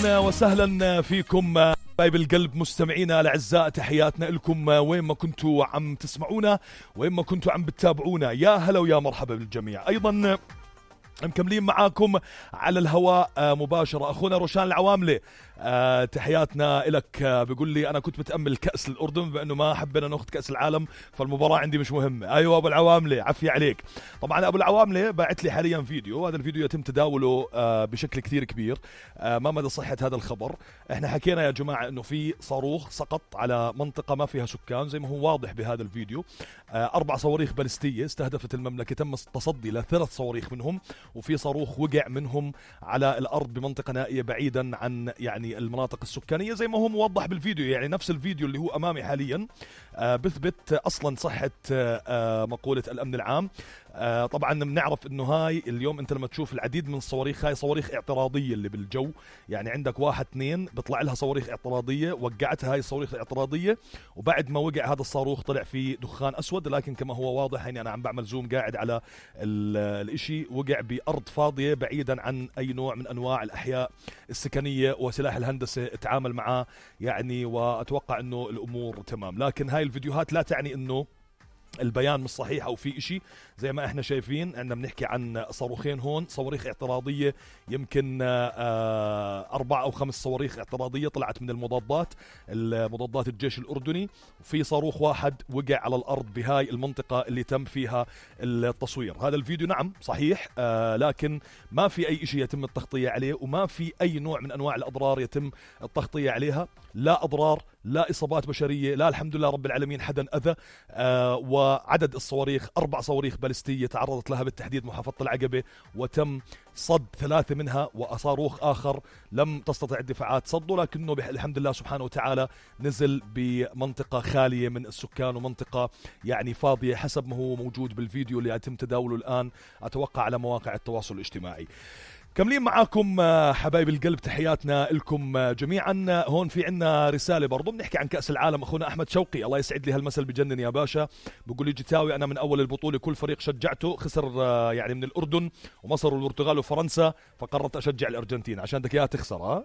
أهلا وسهلا فيكم حبايب القلب مستمعينا الأعزاء، تحياتنا لكم وين ما كنتوا عم تسمعونا وين ما كنتوا عم بتتابعونا. يا هلا ويا مرحبا بالجميع. أيضا مكملين معاكم على الهواء مباشرة أخونا روشان العواملة، تحياتنا إلك. بيقول لي أنا كنت متأمل كأس الأردن بأنه ما حبينا نأخذ كأس العالم فالمباراة عندي مش مهمة. أيوة أبو العواملة، عفية عليك. طبعا أبو العواملة باعت لي حاليا فيديو، هذا الفيديو يتم تداوله بشكل كثير كبير. ما مدى صحة هذا الخبر؟ احنا حكينا يا جماعة أنه في صاروخ سقط على منطقة ما فيها سكان زي ما هو واضح بهذا الفيديو. 4 صواريخ باليستية استهدفت المملكة، تم التصدي ل3 صواريخ منهم، وفي صاروخ وقع منهم على الأرض بمنطقة نائية بعيدا عن يعني المناطق السكانية زي ما هو موضح بالفيديو. يعني نفس الفيديو اللي هو أمامي حاليا بثبت أصلا صحة مقولة الأمن العام. طبعا بنعرف انه هاي اليوم انت لما تشوف العديد من الصواريخ، هاي صواريخ اعتراضية اللي بالجو، يعني عندك 1 2 بيطلع لها صواريخ اعتراضية، وقعتها هاي الصواريخ الاعتراضية، وبعد ما وقع هذا الصاروخ طلع فيه دخان اسود، لكن كما هو واضح يعني انا عم بعمل زوم قاعد على الاشي، وقع بارض فاضية بعيدا عن اي نوع من انواع الاحياء السكنية، وسلاح الهندسة تعامل معاه يعني، واتوقع انه الامور تمام. لكن هاي الفيديوهات لا تعني انه البيان مش صحيح او في اشي. زي ما احنا شايفين عندنا بنحكي عن صاروخين هون، صواريخ اعتراضية، يمكن 4 أو 5 صواريخ اعتراضية طلعت من المضادات الجيش الأردني، وفي صاروخ واحد وقع على الأرض بهاي المنطقة اللي تم فيها التصوير. هذا الفيديو نعم صحيح، لكن ما في أي اشي يتم التغطية عليه، وما في أي نوع من أنواع الأضرار يتم التغطية عليها، لا أضرار لا إصابات بشرية، لا الحمد لله رب العالمين حدا أذى. وعدد الصواريخ 4 صواريخ باليستية تعرضت لها بالتحديد محافظة العقبة، وتم صد 3 منها، وصاروخ آخر لم تستطع الدفاعات صده، لكنه الحمد لله سبحانه وتعالى نزل بمنطقة خالية من السكان، ومنطقة يعني فاضية حسب ما هو موجود بالفيديو اللي يتم تداوله الآن أتوقع على مواقع التواصل الاجتماعي. كملين معاكم حبايب القلب، تحياتنا لكم جميعا. هون في عنا رسالة برضو بنحكي عن كأس العالم. أخونا أحمد شوقي الله يسعد لي هالمثل بجنن يا باشا، بقول لي جتاوي أنا من أول البطولة كل فريق شجعته خسر يعني من الأردن ومصر والبرتغال وفرنسا، فقررت أشجع الأرجنتين عشان بدك إياها تخسر.